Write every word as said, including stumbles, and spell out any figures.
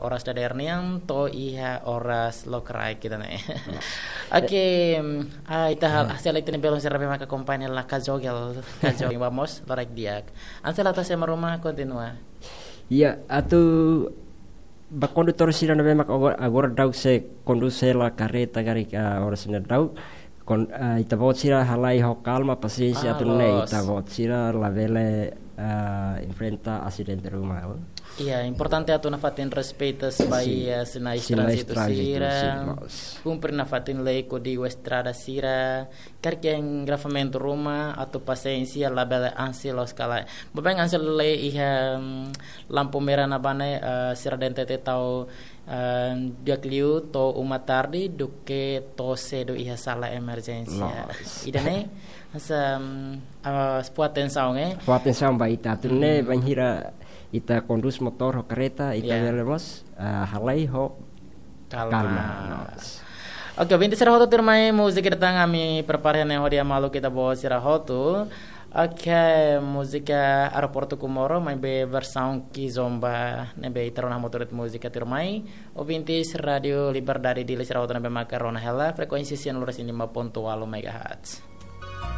Oras dadeer nian to'o iha oras lokraik ida-ne'e. Oke, mm, ah, ita hal, hasil ita-nia belun sira ne'ebé maka akompaña hela kajogel, kajogel, vamos, loraik di'ak. Hanesan ita-nia ema ruma kontinua. Iya, atu ba kondutór sira ne'ebé maka agora, agora daudaun sei kondús hela karreta karik, ah, oras ne'e daudaun. Kon-, ah, ita-boot sira halai ho kalma, pasiénsia, ah, atu nune'e loos. Ita-boot sira labele, ah, enfrenta asidente ruma, oh. Iya, importante atu nafatin respeitu ba, sin, iha sinais, sinais tránzitu, tránzitu sira, sin, loos. Kumpre nafatin lei kódigu estrada sira, karik iha engarrafamentu ruma, atu pasiénsia, labele ansi loos ka lae. Maibé hanesan lei iha, mm, lampu merah ne'ebá ne'e, eh, sira dente te tau, eh, di'ak liu to'o uma tarde duké to'o sedu iha sala emerjénsia. Loos. Ida-ne'e, hanesan, mm, eh, fó atensaun, eh. Fó atensaun ba ita atu nune'e, hmm, bainhira ita kondús motór ho karreta, ita, ya, bele mós, eh, halai ho kalma. Kalma. Loos. Oke, ouvinte sira hotu, tuirmai, múzika ida tan ami prepara ne'e hodi hamaluk ita-boot sira hotu. Oke, múzika Aeroportu Comoro, maibé versaun kizomba, ne'ebé ita rona hamutuk de'it múzika tuirmai. Ouvintes Rádio Liberdade Dili sira hotu ne'ebé maka rona hela, frekuénsia cem lima ponto oito megahertz.